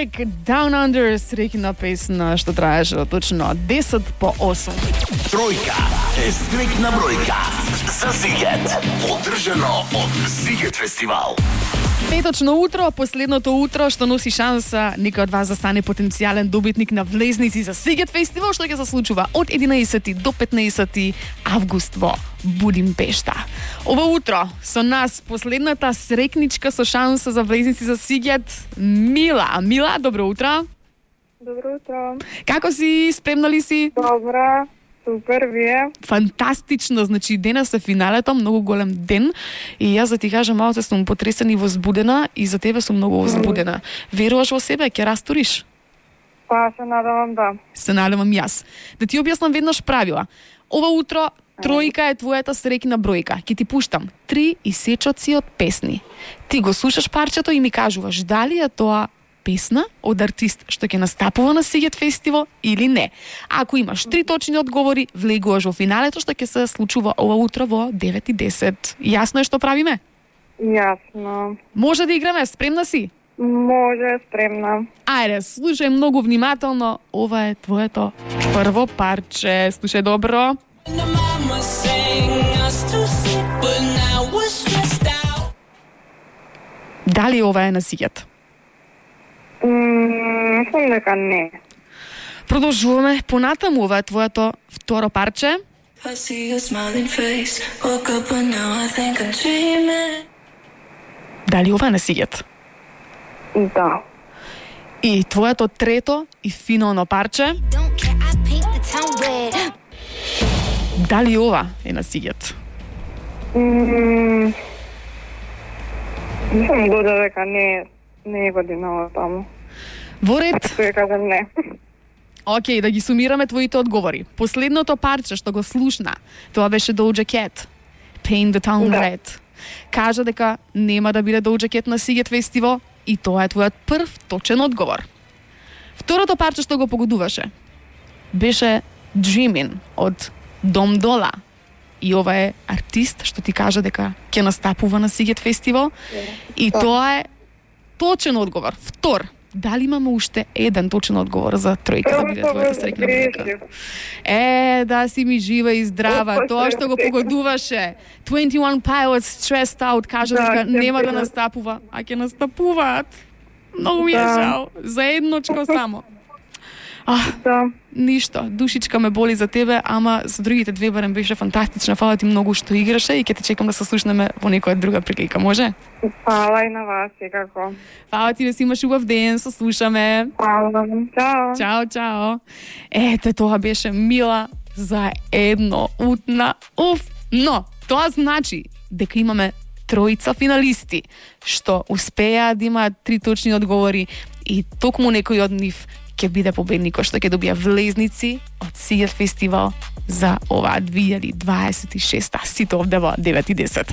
Drake, Down Under, среќна песна што траеше точно 10 по 8. Тројка е стрикна бројка за Сигет, поддржано од Сигет фестивал. Петочно утро, последното утро што носи шанса некој од вас да стане потенцијален добитник на влезници за Сигет фестивал, што ќе се случува од 11 до 15 август во Будимпешта. Ова утро со нас последната срекничка со шанса за влезници за Сигет, Мила. Мила, добро утро. Добро утро. Како си? Спремна ли си? Добра, супер, вие? Фантастично, значи денес е финалето, многу голем ден и јас да ти кажам, малку сум потресена и возбудена и за тебе сум многу возбудена. Веруваш во себе, ќе растуриш? Па, се надевам, да. Се надевам јас. Да ти објаснам веднаш правила. Ова утро тројка е твојата среќна бројка. Ќе ти пуштам 3 исечоци од песни. Ти го слушаш парчето и ми кажуваш дали е тоа песна од артист што ќе настапува на Сигет фестивал или не. Ако имаш 3 точни одговори, влегуваш во финалето што ќе се случува ова утро во 9:10. Јасно е што правиме? Јасно. Може да играме, спремна си? Може, спремна. Ајде, слушај многу внимателно, ова е твоето прво парче. Слушај добро. Дали ова е на Сигет? Мислам дека не. Продолжуваме понатаму, ова е твоето второ парче. Дали ова е на Сигет? Да. И твоето трето и финално парче. Дали ова е на Сигет? Мислам дека не е годинава таму. Во ред. Тој кажам не. Океј, да ги сумираме твоите одговори. Последното парче што го слушна, тоа беше Doja Cat, Paint the Town Red. Кажа дека нема да биде Doja Cat на Сигет фестивал и тоа е твојот прв точен одговор. Второто парче што го погодуваше беше Dreamin' од Дом Дола. И ова е артист што ти кажа дека ќе настапува на Сигет фестивал. И тоа е точен одговор. Втор. Дали имаме уште еден точен одговор за тројка да биде твојата срекна бројка? Да си ми жива и здрава. Тоа што го погодуваше. 21 Pilots Stressed Out кажа дека нема да настапува, а ќе настапуваат. Многу ми е жал. За едночко само. Ништо, душичка ме боли за тебе, ама за другите две барем беше фантастична. Фала ти многу што играше и ќе те чекам да се слушнеме во некоја друга прилика, може? Фала и на вас, секако. Фала ти да си имаш убав ден, се слушаме. Фала, чао. Чао, чао. Ете, тоа беше Мила за едно утна. Но, тоа значи дека имаме тројца финалисти што успеа да имаат 3 точни одговори и токму некој од нив ќе биде победникот што ќе добија влезници од Сигет фестивал за оваа 2026. Сите овде во 9:10.